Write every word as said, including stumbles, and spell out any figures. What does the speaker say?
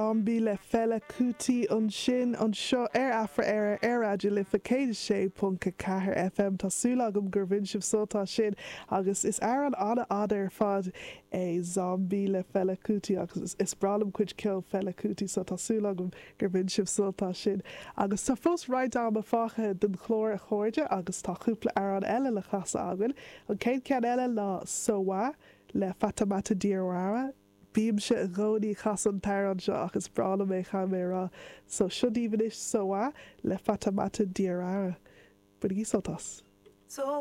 Zombie le Fela Kuti ansin anseo ar Afra Éire ar Raidió Life céad sé ponc a ceathair FM Tá súil agam gur bhain sibh sult as sin agus is amhrán an-fhada ar fad é Zombie le Fela Kuti agus is breá liom cuid ceol Fela Kuti so tá súil agam gur bhain sibh sult as sin. Agus tá fós roinnt ama fágtha den chlár a chairde agus tá cúpla amhrán eile le casadh againn. An chéad cheann eile ná Sowa le Fatoumata Diawara. Bímse i gcónaí ag casadh an t-amhrán seo agus breá liom é caithfidh mé a rá, so seo daoibh anois Sowa le Fatoumata Diawara. Bainigí sult as. So